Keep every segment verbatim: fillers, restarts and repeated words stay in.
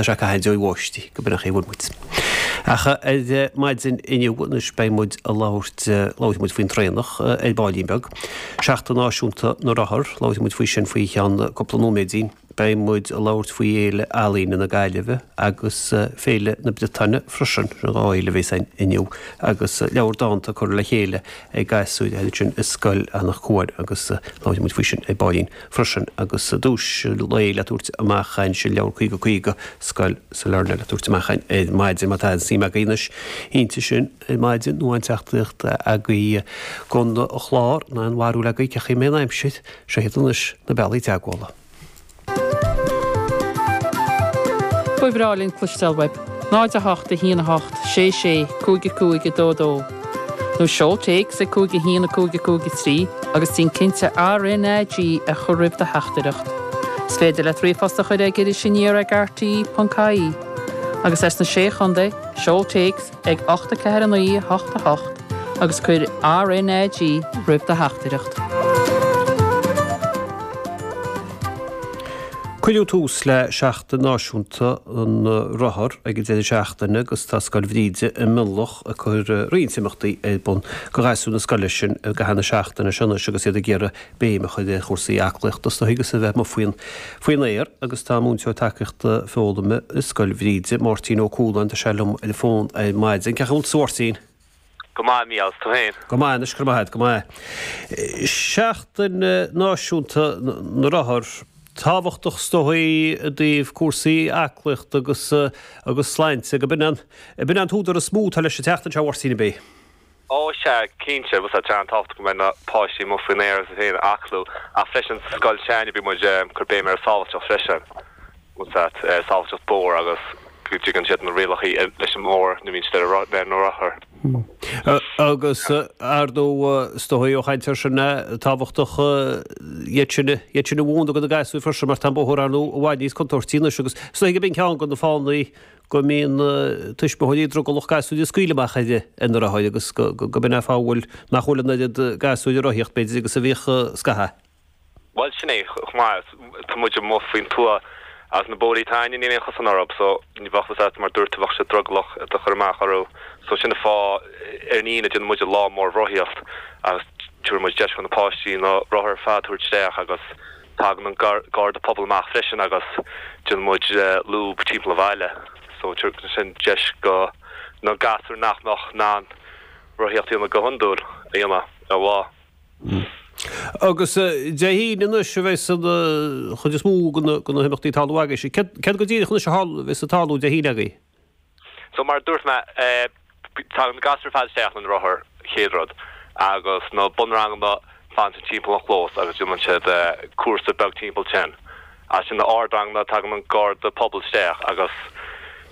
tá sé ag caitheamh báistí go b'in an chaoi a bhfuil muid. Ach ar maidin inniu anois beidh muid ag labhairt labharfaidh muid faoin traonach ar baillín beag. Seachtain Náisiúnta na Rothar, labharfaidh muid faoi sin faoi cheann cúpla nóiméidín. Beidh muid ag labhairt faoi Fhéile Ealaíne na Gaillimhe agus Féile na Briotáine freisin, sin dhá fhéile a bheas againn inniu agus leabhar dánta curtha le chéile ag gasúir sin i Scoil Eanach Cuain agus labharfaidh muid faoi sin ar baillín freisin agus duais lae le tabhairt amach ansin leabhar caoga caoga Scoil Sailearna le tabhairt amach ar maidin má tá suim agaibh anois inti sin ar maidin nó an teachtaireacht agaibh don chlár ná an bharúil agaibh cén chaoi a mbeidh an aimsir seo iad anois na bealaí teagmhála. Ba bhreá linn cloisteáil uaibh. náid a hocht a haon a hocht sé sé cúig a cúig a dó dó. Nó seol téacs ag cúig a haon a cúig a cúig a trí agus déan cinnte R N A G a chur roimh do theachtaireacht. Is féidir leat ríomhphost a chur ag Iris Aniar ag R T E ponc I E. Agus as na sé chontae, seol téacs ag ocht a ceathair a naoi a hocht a hocht agus cuir R N A G roimh do theachtaireacht. Cuireadh tús le Seachtain Náisiúnta na Rothar ag an deireadh seachtaine agus tá Scoil Bhríde i Mionlach ag cur roinnt imeachtaí ar bun do ghasúir na scoile sin i gcaitheamh na seachtaine seo anois agus iad ag iarraidh béim a chur ar chúrsaí aclaíochta is dóigh agus a bheith amuigh faoin faoin aer agus tá múinteoir tacaíochta foghlama i Scoil Bhríde, Máirtín Ó Cualáin, tá sé liom ar an bhfón ar maidin. Cén chaoi a bhfuil tú, a Mháirtín? Go maith, Mícheál, is tú féin? Go maith anois, go maith, go maith. Seachtain Náisiúnta na Rothar, tábhachtach is dóigh i dtaobh cúrsaí aclaíochta agus agus sláinte, go b'in an b'in an t-údar is mó atá leis an tseachtain seo, a Mháirtín, ab é? Ó sea, cinnte, bhuel tá sé an-tábhachtach go mbeidh na páistí amuigh faoin aer agus iad féin ag aclú, ach freisin sa scoil s'againne bíonn muid ag cur béim ar sábháilteacht freisin, bhuel sábháilteacht bóthair agus go dtuigeann siad na rialacha leis an mbóthar nuair a bhíonn siad ar na rothair. Agus ar ndóigh, is dóigh ó chaint air sin tábhachtach iad sin iad sin a mhúineadh do na gasúir freisin mar tá an bóthar ar ndóigh i bhfad níos contúirtí anois agus is dóigh gurb in ceann de na fáthanna go mbíonn tuismitheoirí drogallach gasúir a scaoileadh amach ar ar na rothair agus go b'in é an fáth a bhfuil nach bhfuil an oiread gasúir ag rothaíocht b'fhéidir agus a bhíodh scaitheamh. Bhuel, sin é chomh maith. Tá muid amuigh faoin tuath agus na bóithrí atá againne, níl aon chosán orthu so ní bheadh fhios agat mar dúirt tú bheadh sé drogallach iad a chur amach orthu. So sin an fáth ar an Aoine déanann muid lá mór rothaíocht agus tabharann muid deis do na páistí na rothair ar fad a thabhairt isteach agus tagann an garda pobail amach freisin agus déanann muid lúb timpeall an bhaile. So tugann sin deis do na gasúir nach mbeadh in ann rothaíocht a dhéanamh go hiondúil a dhéanamh ar lá. Agus Dé hAoine anois a bheas an chuid is mó de na himeachtaí ag tarlú agaibhse. Céard go díreach anois a bheas ag tarlú Dé hAoine agaibh? So mar a dúirt mé, tagann na gasúir ar fad isteach lena rothair, chéad rud, agus na bunranganna fanann siad timpeall an chlós agus déanann siad cúrsa beag timpeall sin. As sin na ardranganna tagann an garda pobail isteach agus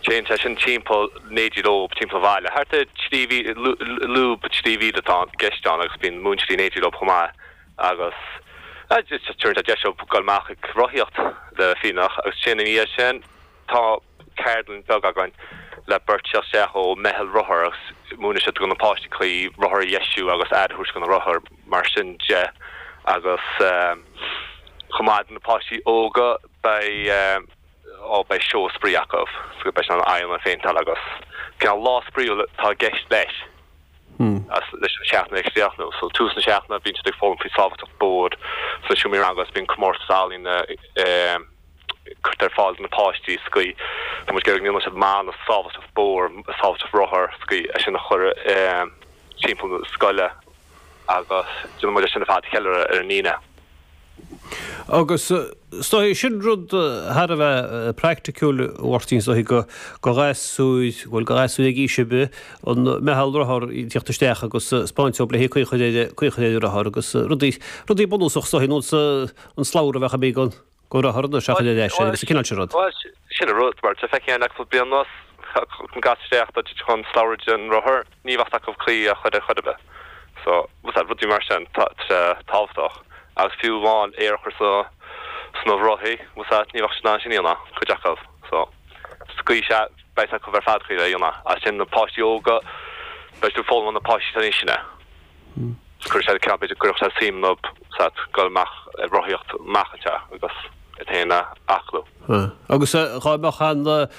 téann sé sin timpeall in éindí leo timpeall an bhaile. Thart ar trí mhíle, lúb trí mhíle atá i gceist ann agus bíonn múinteoirí in éindí leo chomh maith agus tugann sé deis dóibh dul amach ag rothaíocht le fírinneach agus sin ina dhiaidh sin tá ceardlann beag againn le beirt teacht isteach ó meitheal rothar agus múineann siad do na páistí caoi rothar a dheisiú agus aire a thabhairt do na rothair mar sin de agus chomh maith do na páistí óga beidh ó beidh seó spraoi acu so beidh siad in ann aghaidheanna a phéinteáil agus cineál lá spraíúil atá i gceist leis leis an seachtain a chríochnú. So tús na seachtaine bíonn siad ag foghlaim faoi sábháilteacht bóthair sna seomraí ranga agus bíonn comórtas ealaíne curtha ar fáil do na páistí sa gcaoi tá muid ag iarraidh go ndéanfaidh siad mana sábháilteacht bóthair, sábháilteacht rothar sa gcaoi é sin a chur timpeall na scoile agus déanann muid é sin ar fad a cheiliúradh ar an Aoine. Agus is dóigh, sin rud thar a bheith praiticiúil, a Mháirtín, is dóigh, do ghasúir, bhuel, do ghasúir ag aois ar bith, an meitheal rothar ag tíocht isteach agus 'spáint dóibh le haghaidh caoi a chur ar, caoi a chur ar an rothar agus rudaí, rudaí bunúsach is dóigh, ar nós an slabhra a bheadh imithe den, den rothar anois a chur ar ais agus an cineál sin rud. Bhuel, sin an rud, mar tá feicthe againn le cúpla bliain anuas, an gasúr isteach dá dtitfeadh an slabhra den rothar, ní bheadh acu caoi a chur ar chor ar bith. So, rudaí mar sin, tá sé tábhachtach. Agus fiú amháin aer a chur sa, sna rothaí, ní bheadh siad in ann sin a dhéanamh, cuid acu. So, sa gcaoi sea, beidh acu ar fad caoi a dhéanamh. As sin na páistí óga, beidh siad ag foghlaim ó na páistí atá níos sine. Cuirfidh sé ceann, b'fhéidir go gcuirfeadh sé suim iontu, sa, dul amach ag rothaíocht amach anseo agus iad féin a aclú. Agus dhá mbeadh an,